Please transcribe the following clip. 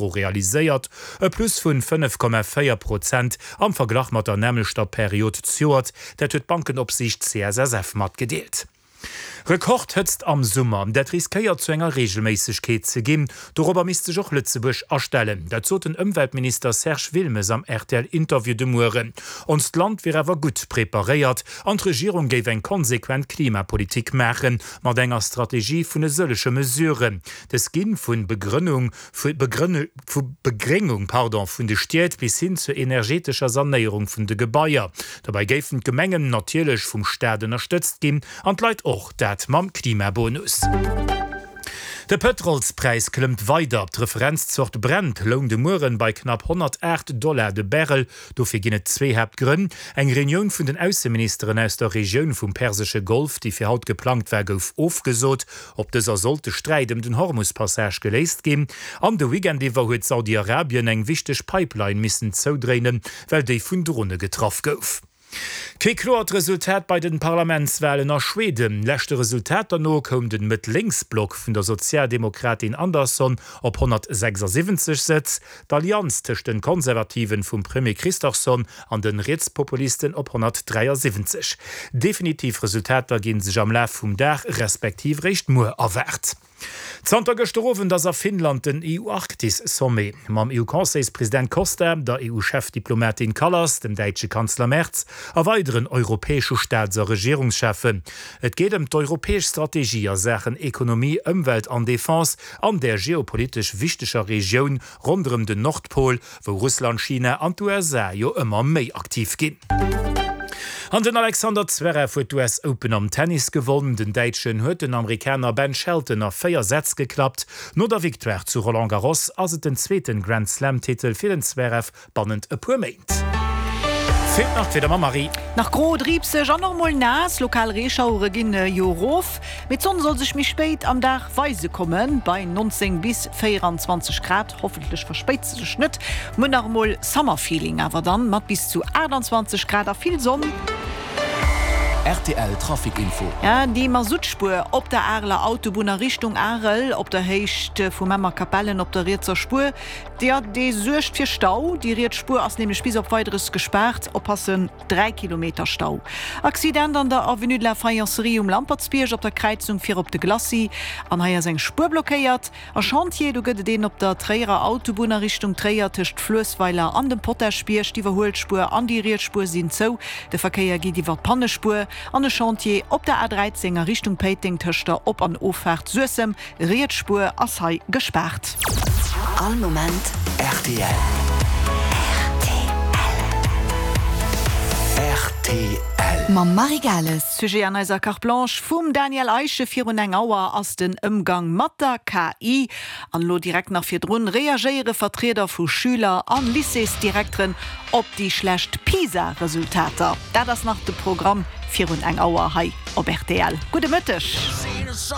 Realiséiert, e Plus vun 5,4 Prozent am Verglach mat der nämmlechter Period zejoert, dat huet d'Bankenopsiicht CSSF matgedeelt. Rekordhëtzt am Summer, dat riskéiert zu enger Reegelméissegkeet ze ginn. Dorobber misst sech och Lëtzebuerg astellen. Dat sot den Ëmweltminister Serge Wilmes am RTL-Interview de Mueren. Onst Land wier awer gutt preparéiert an d'Regierung géif eng konsequent Klimapolitik maachen, mat enger Strategie vun e sëllege Mesuren. Dës ginn vun Begrënnung Vu Begréngung pardon, vun de Stied bis hin zur energetescher Sanéierung vun de Gebaier. Dobäi géifen d'Gemengen natierlech vum Staat ënnerstëtzt ginn, an d'Leit och, dat mam Klimabonus. De Pëtrolspräis klëmmt weider. D'Referenzzort Brent loung de Mueren bei knapp 108 Dollar de Barrel. Dofir ginn et zwee Haaptgrënn, Eng Reunioun vun den Ausseministeren aus der Regioun vum persesche Golf, déi fir haut geplangt war, gouf ofgesot. Op dëser sollt de Sträit ëm den Hormus-Passage geléist ginn. An de Weekend iwwer huet Saudi-Arabien eng wichteg Pipeline missen zoudréinen, well déi vun Drone getraff gouf. Kee kloert Resultat bei den Parlamentswalen a Schweden. Leschte Resultater no koum den Mëtt-Lénks-Block vun der Sozialdemokratin Andersson op 176 Sëtz, d'Allianz tëscht den Konservativen vum Premier Kristersson an den Rietspopulisten op 173. Definitiv Resultater ginn sech am Laf vum Dag respektiv réischt muer erwaart. Zanter gëschter Owend ass a Finnland den EU-Arktis-Sommet. Mam EU-Conseilspresident Costa, der EU-Chefdiplomatin Kallas, dem däitsche Kanzler Merz a weideren europäesche Staats a Regierungscheffen. Et geet ëm d'europäesch Strategie a Saachen Ekonomie, Ëmwelt an Defense an där geopolitesch wichteger Regioun ronderëm den Nordpol, wou Russland, China an d'USA jo ëmmer méi aktiv ginn. An den Alexander Zverev huet d'US Open am Tennis gewonn. Den Däitschen huet den Amerikaner Ben Shelton a 4 Sätz geklappt. No der Victoire zu Roland Garros ass et den zweeten Grand Slam Titel fir den Zverev bannent e puer Méint. Feelt nach d'Wieder mam Marie. Nach gro, driibseg an och mol naass. Lokal Reeschauere ginn jo erof, mee d'Sonn soll sech méi spéit am Dag weise kommen, bei 19 bis 24 Grad. Hoffentlech verspéit se sech net. Muer nach emol Summerfeeling, awer dann mat bis zu 28 Grad a vill Sonn. Rtl Trafic Info. Déi Masuttspuer op der Areler Autobunn a Richtung Arel, op der Héicht vu Memmer-Capellen op der rietser Spuer, Jo, dee suergt fir Stau. Déi riets Spuer ass nämlech bis op Weideres gespaart. Oppassen, 3 Kilometer Stau. Accident an der Avenue de la Faïencerie um Lampertsbierg op der Kräizung fir op de Glacis. An hei ass eng Spuer blockéiert. A Chantier, do gëtt et een op der Tréierer Autobunn a Richtung Tréier tëscht Fluessweiler an dem Potaschbierg. D'Iwwerhuelspuer an déi riets Spuer sinn zou. De Verkéier geet iwwer d'Pannespuer. An e Chantier op der A13 a Richtung Péiteng tëscht der Op an Offaart Suessem. Riets Spuer ass hei gespaart. All Moment rtl. Rtl. Mam Marie Gales. Sujet an eiser Carte Blanche vum Daniel Eischen virun eng Auer ass den Ëmgang mat der KI. An elo direkt nach virdrun reagéiere Vertrieder vu Schüler an Lycéesdirekteren op déi schlecht PISA-Resultater. Dat ass nach de Programm virun eng Auer hei op rtl. Gudde Mëtteg.